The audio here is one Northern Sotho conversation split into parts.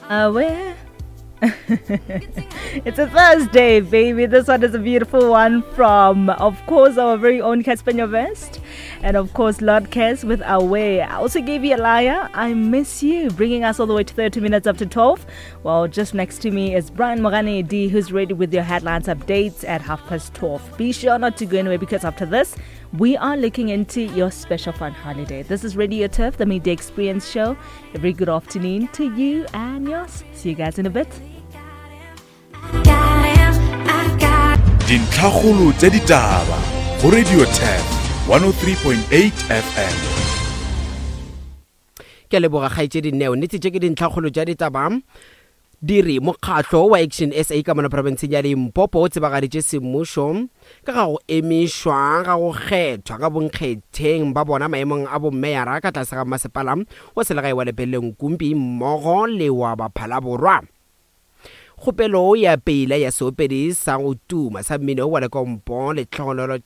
Away. It's a Thursday, baby. This one is a beautiful one from, of course, our very own Cassper Nyovest. And of course, Lord Cass with Away. I also gave you a liar. I miss you. Bringing us all the way to 30 minutes after 12. Well, just next to me is Brian Morane D, who's ready with your headlines updates at 12:30. Be sure not to go anywhere because after this, we are looking into your special fun holiday. This is Radio Turf, the Midday Experience Show. A very good afternoon to you and yours. See you guys in a bit. Dintlhakgolo tša ditaba go Radio Turf 103.8 FM. Ke a leboga kgaetšedi Neo. Nnete tše ke dintlhakgolo tša ditaba. Di re mokgatlo wa Action SA ka mono profenseng ya Limpopo o tsebagaditše semmušo ka ga go emišwa ga go kgethwa ga bonkgetheng ba bona maemong a bommeyara ka tlase ga mmasepala wa selegae wa Lepelle Nkumpi mmogo le wa Baphalaborwa. Kgopelo ya peila ya seopedi sa go tuma sa mmino wa lekompo Lehlogonolo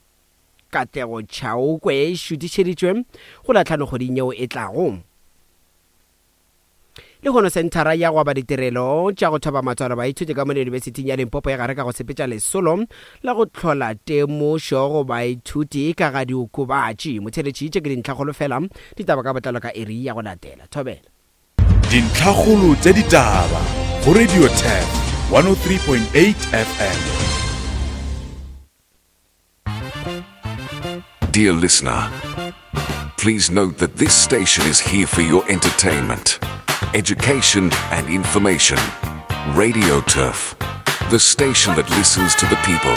Katlego Chauke e šutišeditšwe go la tlhano kgweding yeo e tlago. Lehono senthara ya go aba ditirelo tša go thoba matswalo baithuti ka mo Yunibesithing ya Limpopo e gare ka go sepetša lesolo la go hlola temošo go baithuti ka ga diokobatši. Motheeletši, tše ke dintlhakgolo fela, ditaba ka botlalo ka iri ya go latela. Thobela. Dintlhakgolo tša ditaba go Radio Turf 103.8 FM. Dear listener, please note that this station is here for your entertainment, education, and information. Radio Turf, the station that listens to the people.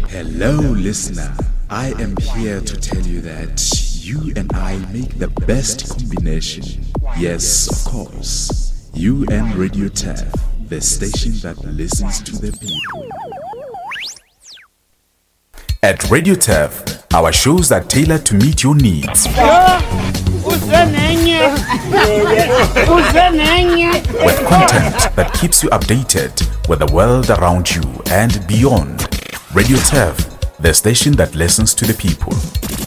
Hello, listener. I am here to tell you that you and I make the best combination. Yes, of course. You and Radio Turf, the station that listens to the people. At Radio Turf, our shows are tailored to meet your needs. With content that keeps you updated with the world around you and beyond. Radio Turf, the station that listens to the people.